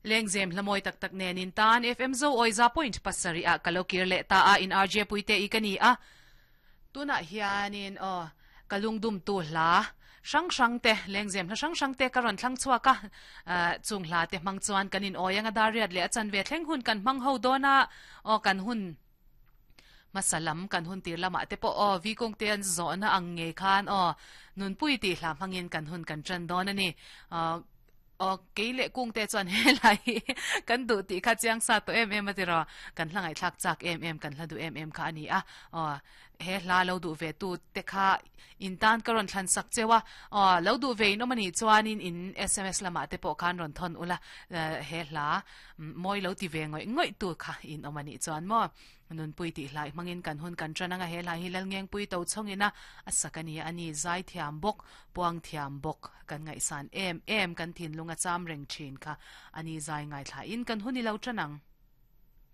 Lengzem hla mawi tak tak nen in tan FM Zo awi za point pasarih ah ka lo kir leh ta a, in RJ Puite i ka ni a. Tunah hianin aw ka lungdumtu hla hrang hrang te, lengzem hla hrang hrang te ka rawn thlang chhuak a, chung hla te hmang chuan kan in awi anga dar riat leh a chanve thleng hun kan hmang ho dawn a, aw kan hun hmasa lam kan hun tir lamah te pawh aw vikung te an zawhna ang ngei khan aw nunpui tih hla hmangin kan hun kan tan dawn a ni. Aw, kei leh kung te chuan helai hi kan duh tih kha chiang sa tawh em em a tiraw? Kan hla ngaihthlak chak em em, kan hla duh em em kha a ni a. Aw, he hla lo duh ve tu te kha in tan ka rawn thlan sak cheu a. Aw, lo duh ve in awm a nih chuanin in sms lamah te pawh khan rawn thawn ula, he hla mawi lo ti ve ngawih ngawih tu kha in awm a nih chuan maw? Nunpui tih hlai hmangin kan hun kan tan anga he hlai hi Lalngengpui to chhawngin a a sak a ni a ni. Zai thiam bawk, puang thiam bawk kan ngaihsan em em kan thinlung a cham reng thin kha a ni. Zai ngaithlain kan hun i lo tan ang.